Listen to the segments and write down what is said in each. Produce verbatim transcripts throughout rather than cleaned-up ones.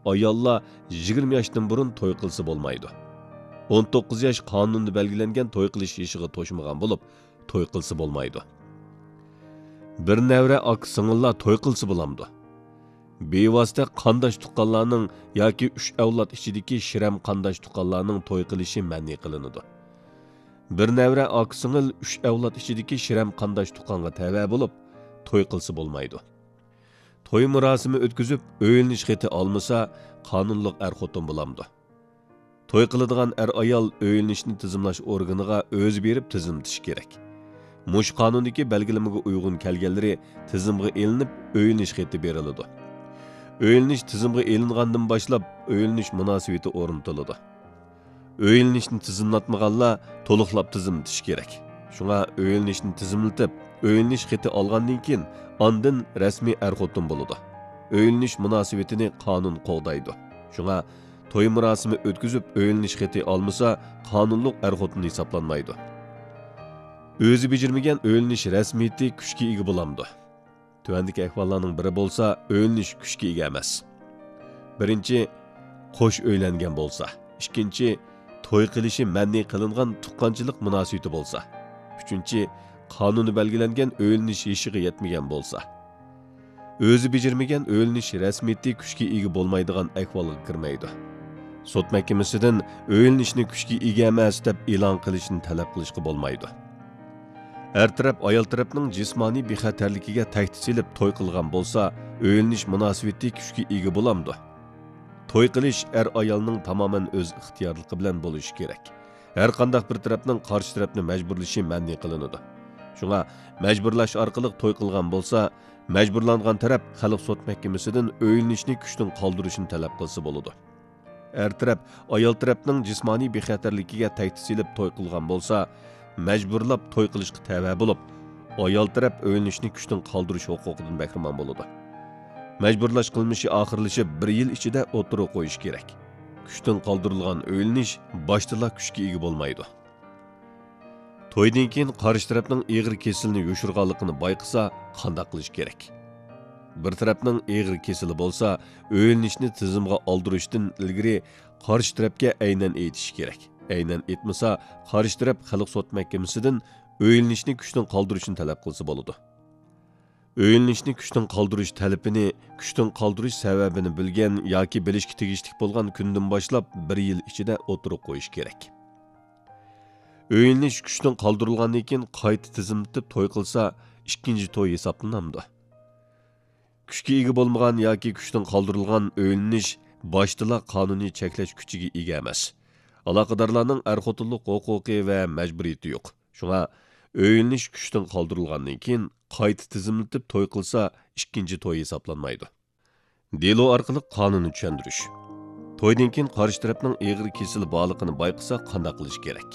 ئاياللار يىگىرمە ياشتىن بۇرۇن توي قىلسا بولمايدۇ. ئون توققۇز ياش قانۇندا بەلگىلەنگەن توي قىلىش يېشىغا توشمىغان بولۇپ، توي قىلسا بولمايدۇ. بىر نەۋرە ئاكا سىڭىللار توي قىلسا بولامدۇ؟ بىۋاسىتە قانداش تۇغقانلارنىڭ ياكى ئۈچ ئەۋلاد ئىچىدىكى شىرەم قانداش تۇغقانلارنىڭ توي قىلىشى مەنئى قىلىنىدۇ. بىر نەۋرە ئاكا سىڭىل ئۈچ ئەۋلاد ئىچىدىكى شىرەم قانداش تۇغقانغا تەۋە بولۇپ، توي قىلسا بولمايدۇ. توي مۇراسىمى ئۆتكۈزۈپ، ئۆيلىنىش خېتى ئالمىسا، قانۇنلۇق ئەر-خوتۇن بولامدۇ؟ توي قىلىدىغان ئەر-ئايال ئۆيلىنىشنى تىزىملاش ئورگىنىغا ئۆزى بېرىپ تىزىملىتىشى كېرەك. مۇشۇ قانۇندىكى بەلگىلىمىگە ئۇيغۇن كەلگەنلىرى تىزىمغا ئېلىنىپ، ئۆيلىنىش خېتى بېرىلىدۇ. ئۆيلىنىش تىزىمغا ئېلىنغاندىن باشلاپ، ئۆيلىنىش مۇناسىۋىتى ئورنىتىلىدۇ. ئۆيلىنىشنى تىزىملاتمىغانلار تولۇقلاپ تىزىملىتىشى كېرەك. شۇڭا ئۆيلىنىشنى تىزىملىتىپ، ئۆيلىنىش خېتى ئالغاندىن كېيىن، ئاندىن رەسمىي ئەر-خوتۇن بولىدۇ. ئۆيلىنىش مۇناسىۋىتىنى قانۇن قوغدايدۇ. شۇڭا توي مۇراسىمى ئۆتكۈزۈپ، ئۆيلىنىش خېتى ئالمىسا، قانۇنلۇق ئەر-خوتۇن ھېسابلانمايدۇ. ئۆزى بېجىرمىگەن ئۆيلىنىش رەسمىيىتى كۈچكە ئىگە بولامدۇ؟ تۆۋەندىكى ئەھۋاللارنىڭ بىرى بولسا ئۆيلىنىش كۈچكە ئىگە ئەمەس. بىرىنچى، قوش ئۆيلەنگەن بولسا. ئىككىنچى، توي قىلىشى مەنئى قىلىنغان تۇغقانچىلىق مۇناسىۋىتى بولسا. ئۈچىنچى، قانۇندا بەلگىلەنگەن ئۆيلىنىش يېشىغا يەتمىگەن بولسا. ئۆزى بېجىرمىگەن ئۆيلىنىش رەسمىيىتى كۈچكە ئىگە بولمايدىغان ئەھۋالغا كىرمەيدۇ. سوت مەھكىمىسىدىن ئۆيلىنىشنى كۈچكە ئىگە ئەمەس دەپ ئېلان قىلىشنى تەلەپ قىلىشقا بولمايدۇ. ئەر تەرەپ ئايال تەرەپنىڭ جىسمانىي بىخەتەرلىكىگە تەھدىت سېلىپ توي قىلغان بولسا، ئۆيلىنىش مۇناسىۋىتى كۈچكە ئىگە بولامدۇ؟ توي قىلىش ئەر-ئايالنىڭ تامامەن ئۆز ئىختىيارلىقى بىلەن بولۇشى كېرەك. ھەر قانداق بىر تەرەپنىڭ قارشى تەرەپنى مەجبۇرلىشى مەنئى قىلىنىدۇ. شۇڭا مەجبۇرلاش ئارقىلىق توي قىلغان بولسا، مەجبۇرلانغان تەرەپ خەلق سوت مەھكىمىسىدىن ئۆيلىنىشنى كۈچتىن قالدۇرۇشنى تەلەپ قىلسا بولىدۇ. ئەر تەرەپ ئايال تەرەپنىڭ جىسمانىي بىخەتەرلىكىگە تەھدىت سېلىپ توي قىلغان بولسا، مەجبۇرلاپ توي قىلىشقا تەۋە بولۇپ، ئايال تەرەپ ئۆيلىنىشنى كۈچتىن قالدۇرۇش ھوقۇقىدىن بەھرىمەن بولىدۇ. مەجبۇرلاش قىلمىشى ئاخىرلىشىپ بىر يىل ئىچىدە ئوتتۇرىغا قويۇش كېرەك. كۈچتىن قالدۇرۇلغان ئۆيلىنىش باشتىلا كۈچكە ئىگە بولمايدۇ. تويدىن كېيىن قارشى تەرەپنىڭ ئېغىر كېسىلىنى يوشۇرغانلىقىنى بايقىسا، قانداق قىلىش كېرەك؟ بىر تەرەپنىڭ ئېغىر كېسىلى بولسا، ئۆيلىنىشنى تىزىمغا ئالدۇرۇشتىن ئىلگىرى قارشى تەرەپكە ئەينەن ئېيتىشى كېرەك. ئەينەن ئېيتمىسا، قارشى تەرەپ خەلق سوت مەھكىمىسىدىن ئۆيلىنىشنى كۈچتىن قالدۇرۇشنى تەلەپ قىلسا بولىدۇ. ئۆيلىنىشنى كۈچتىن قالدۇرۇش تەلىپىنى، كۈچتىن قالدۇرۇش سەۋەبىنى بىلگەن ياكى بىلىشكە تېگىشلىك بولغان كۈندىن باشلاپ بىر يىل ئىچىدە ئوتتۇرىغا قويۇش كېرەك. ئۆيلىنىش كۈچتىن قالدۇرۇلغاندىن كېيىن قايتا تىزىملىتىپ توي قىلسا، ئىككىنچى توي ھېسابلىنامدۇ؟ كۈچكە ئىگە بولمىغان ياكى كۈچتىن قالدۇرۇلغان ئۆيلىنىش باشتىلا قانۇنىي چەكلەش كۈچىگە ئىگە ئەمەس. ئالاقىدارلارنىڭ ئەر-خوتۇنلۇق ھوقۇقى ۋە مەجبۇرىيىتى يوق. شۇڭا ئۆيلىنىش كۈچتىن قالدۇرۇلغاندىن كېيىن قايتا تىزىملىتىپ توي قىلسا، ئىككىنچى توي ھېسابلانمايدۇ. دېلو ئارقىلىق قانۇننى چۈشەندۈرۈش. تويدىن كېيىن قارشى تەرەپنىڭ ئېغىر كېسىلى بارلىقىنى بايقىسا، قانداق قىلىش كېرەك؟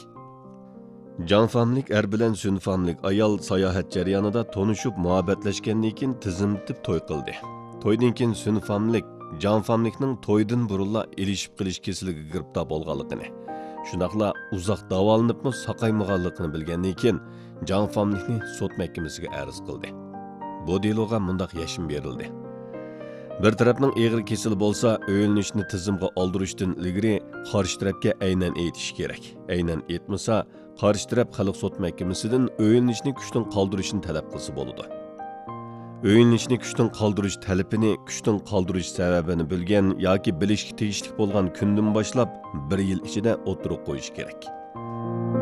جاڭ فامىلىك ئەر بىلەن سۈن فامىلىك ئايال ساياھەت جەريانىدا تونۇشۇپ، مۇھەببەتلەشكەندىن كېيىن تىزىملىتىپ توي قىلدى. تويدىن كېيىن سۈن فامىلىك جاڭ فامىلىكنىڭ تويدىن بۇرۇنلا ئېلىشىپ قېلىش كېسىلىگە گىرىپتار بولغانلىقىنى، شۇنداقلا ئۇزاق داۋالىنىپمۇ ساقايمىغانلىقىنى بىلگەندىن كېيىن، جاڭ فامىلىكنى سوت مەھكىمىسىگە ئەرز قىلدى. بۇ دېلوغا مۇنداق يەشمە بېرىلدى. بىر تەرەپنىڭ ئېغىر كېسىلى بولسا، ئۆيلىنىشنى تىزىمغا ئالدۇرۇشتىن ئىلگىرى قارشى تەرەپكە ئەينەن ئېيتىشى كېرەك. ئەينەن ئېيتمىسا، قارشى تەرەپ خەلق سوت مەھكىمىسىدىن ئۆيلىنىشنى كۈچتىن قالدۇرۇشنى تەلەپ قىلسا بولىدۇ. ئۆيلىنىشنى كۈچتىن قالدۇرۇش تەلىپىنى، كۈچتىن قالدۇرۇش سەۋەبىنى بىلگەن ياكى بىلىشكە تېگىشلىك بولغان كۈندىن باشلاپ بىر يىل ئىچىدە ئوتتۇرىغا قويۇش كېرەك.